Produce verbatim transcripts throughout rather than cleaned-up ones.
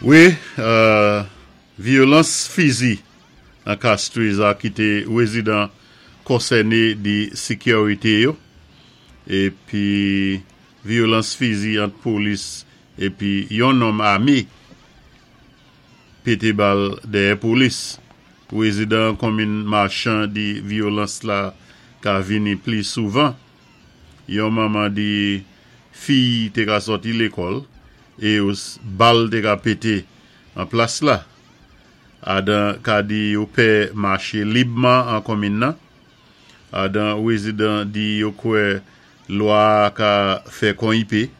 Wi, vyolans fizi an Castries a kité wézidan konsèné di sékirité yo, épi vyolans fizi ant polis épi yon nonm amé pété bal dèyè polis. Wézidan konmin Marchand di vyolans la ka vini pli souvan. Yon manman di fiy té ka sòti lékòl é bal té ka pété an plas la. Adan ka di yo pè maché libman an konmin nan. Adan wézidan di yo kwè lwa ka fè kon i pé,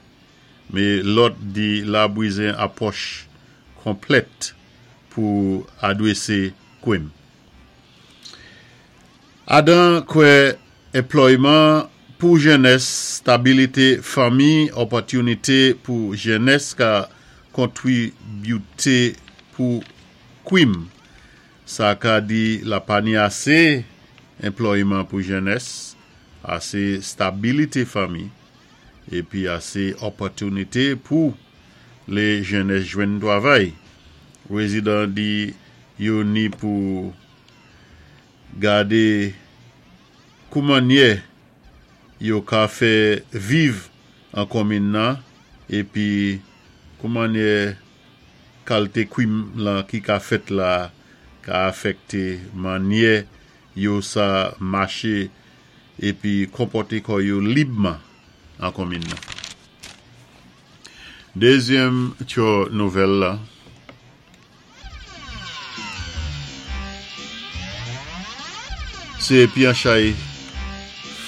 mé lòt di la bizwen apwòch konplèt pou adwésé kwim. Adan kwè enplòyman pou jènès, stabilité fanmi, opòtinité pou jènès ka kontribité pou kwim. Sa ka di la pa ni asé enplòyman pou jènès, asé stabilité fanmi, épi asé opòtinité pou lé jènès jwenn twavay. Wézidan di yo ni pou gadé kou mannyè yo ka fè viv an konmin nan épi kou mannyè kalité kwim lan ki ka fèt la ka afèkté mannyè yo sa maché épi konpòté kò yo libman an konmin nan. Dézyèm tyo nouvèl la. Sé pyanchay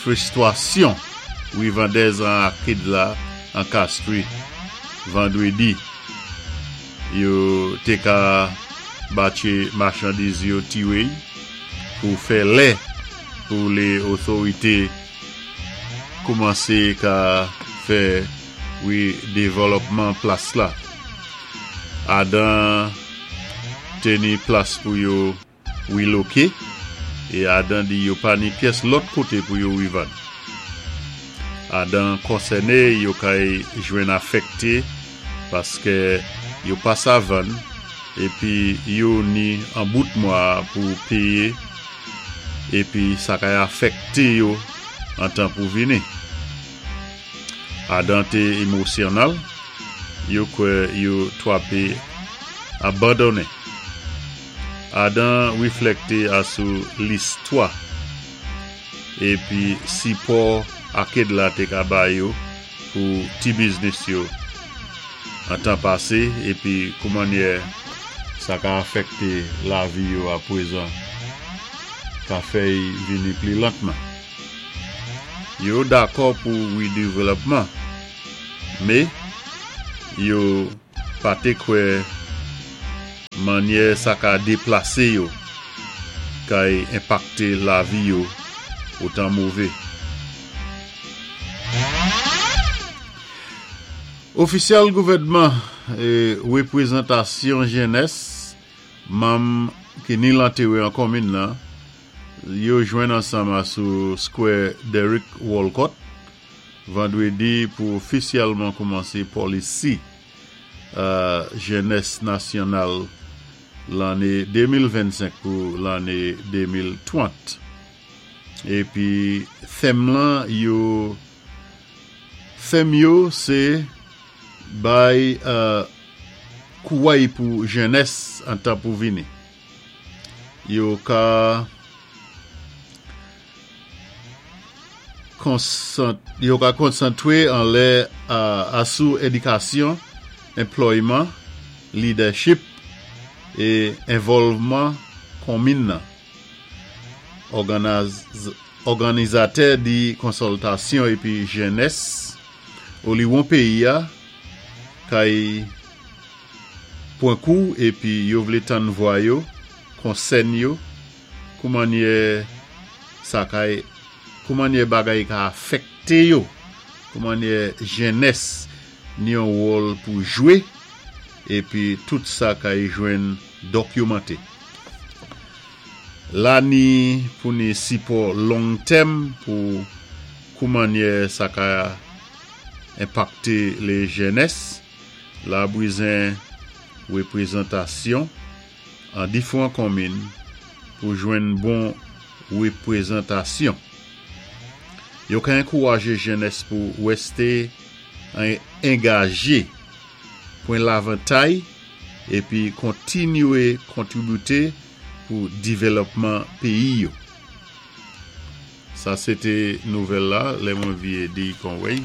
fwistwasyon wivandèz an akid la an Castries vandwédi. Yo té ka batché machandiz yo tiwéy pou fè lè pou lé otorité koumansé ka fè widévlòpman plas la. Adan té ni plas pou yo wiloké é adan di yo pa ni pyès lòt koté pou yo wivann. Adan konsèné yo kay jwenn afèkté paské yo pa sa vann épi yo ni an bout mwa pou péyé épi sa kay afèkté yo an tan pou vini. Adan té émosyonal, yo kwè yo twapé abandoné. Adan wiflèkté asou listwa épi sipò akid la té ka bay yo pou ti biznis yo an tan pasé épi kou mannyè sa ka afèkté lavi yo apwézan ka fè'y vini pli lantman. Yo dakò pou widévlòpman, mé yo pa té kwè mannyè sa ka déplasé yo kay enpakté lavi yo otan mové. Ofisyèl gouvèdman é wépwézantasyon jènès, manm ki ni lantéwé an konmin nan, yo jwenn ansanm asou Square Derek Walcott vandwédi pou ofisyèlman koumansé polisi euh, jènès nasyonal lanné de mil vennsenk pou lanné de mil trant. Épi tèm lan yo tèm yo sé bay euh, kouway pou jènès an tan pou vini. Yo ka konsant, yo ka konsantwé an lè asou édikasyon, enplòyman, leadership é envòlvman konmin nan. Òganizatè di konsòltasyon épi jènès oliwon péyi a kay pwan kou épi yo vlé tann vwa yo, konsèn yo, kou mannyè sa kay kou mannyè bagay ka afèkté yo, kou mannyè jènès ni yon wòl pou jwé épi tout sa kay jwenn dokimanté. La ni pou ni sipò long tèm pou kou mannyè sa ka enpakté lé jènès, la bizwen wépwézantasyon an difwan konminn pou jwenn bon wépwézantasyon. Yo ka ankouwajé jènès pou wèsté angajé, pwan lavantay épi kontinyé kontribiwé pou dèvlòpman péyi yo. Sa sé té nouvèl la, lè mwen vyé di kon wèy.